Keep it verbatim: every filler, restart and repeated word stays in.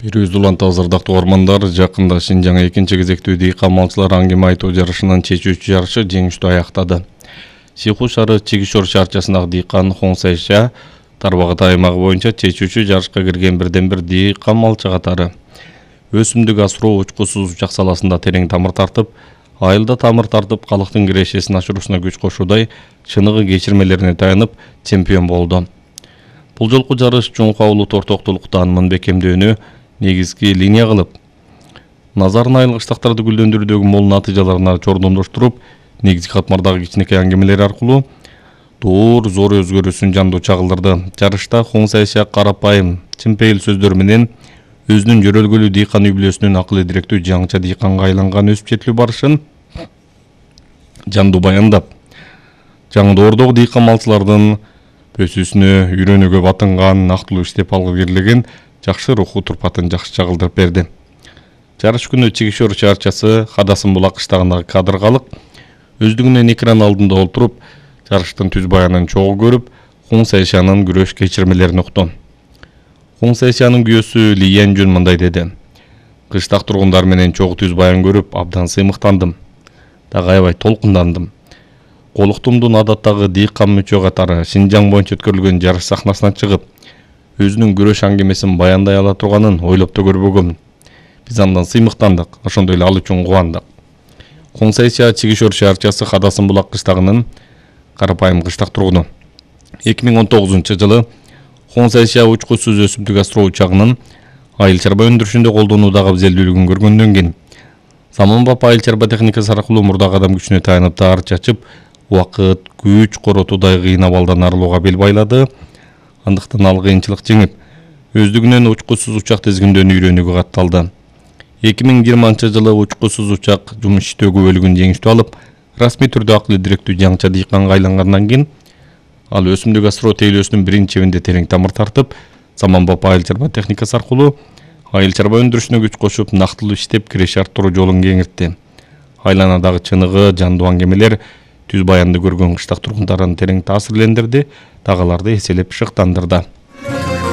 Бирөөз уланты азырдактуу ормандар жакында Шинжаң экинчи кезектүү дыйкан малчылар аңгеме айтуу жарышынын чечүүчү жарышы жеңиштүү аяктады. Сиху шары Чигишор шаарчасындагы дыйкан Хоңсайша Тарбагат аймагы боюнча чечүүчү жарышка кирген бирден бир дыйкан малчы катары. Өсүмдүк асыроо учкусуз учак саласында терең тамыр тартып, айылда тамыр тартып калктын кирешесин ашыруусуна күч кошуудай чыныгы кечирмелерине таянып чемпион болду. Бул жолку жарыш Чоңку улут ортоктулуктан мын бекемдөөнү негизги линия кылып, назарын айыл кыштактарды гүлдөндүрүүдөгү мол натыйжаларына чордондоштуруп, негизги катмардагы кичинекей аңгемелер аркылуу доор зор өзгөрүүсүн жандуу чагылдырды. Жарышта Хоңсайша карапайым, чынпейил сөздөр менен өзүнүн жөрөлгөлүү дыйкан үй бүлөсүнүн акыл эдиректүү жаңча дыйканга айланган өсүп жетилүү барышын жандуу баяндап, жаңдоордогу дыйкан малчылардын өсүүсүнө үйрөнүүгө батынган, нактылуу иштеп алгы келген жакшы руху турпатын жакшы чагылдырып берди. Жарыш күнү Чигишор шаарчасы Хадасын булак кыштагындагы кадыр калык өздүгүнөн экран алдында отуруп, жарыштын түз баянын чогуу көрүп, Хоңсайшанын күрөш кечирмелерин укту. Хоңсайшанын күйөөсү Лиянжүн мындай деди: "Кыштак тургундар менен чогуу түз баян көрүп, абдан сыймыктандым. Дагы аябай толкундандым. Колуктумдун адаттагы дыйкан мүчө катары Шинжаң боюнча өткөрүлгөн жарыш сахнасына чыгып, өзүнүн күрөш аңгемесин баяндай ала турганын ойлоп да көрбөгөм. Биз андан сыймыктандык, ошондой эле ал үчүн кубандык." Хоңсайша Чигишор шаарчасы Хадасын булак кыштагынын карапайым кыштак тургуну. эки миң он тогузунчу жылы Хоңсайша учкусуз өсүмдүк асыроо учагынын айыл чарба өндүрүшүндө колдонуудагы абзелдүүлүгүн көргөндөн кийин заманбап айыл чарба техникасы аркылуу мурдагы адам күчүнө таянып таар чачып, убакыт, күч коротуудай кыйын абалдан арылууга бел байлады. Андыктан ал кыйынчылык жеңип, өздүгүнөн учкусуз учак тизгиндөөнү үйрөнүүгө катталды. эки миң жыйырманчы жылы учкусуз учак жумуш иштөөгө бөлүгүн жеңиштүү алып, расмий түрдө акыл эдиректүү жаңча дыйканга айлангандан кийин ал өсүмдүк асыроо тейлөөсүнүн биринчи чебинде терең тамыр тартып, заманбап айыл чарба техникасы аркылуу айыл чарба өндүрүшүнө күч кошуп, нактылуу иштеп киреше арттыруу жолун кеңиртти. Айланадагы чыныгы, жандуу аңгемелер түз баянды көргөн кыштак тургундарын терең таасирлендирди, дагы аларды эселеп шыктандырды.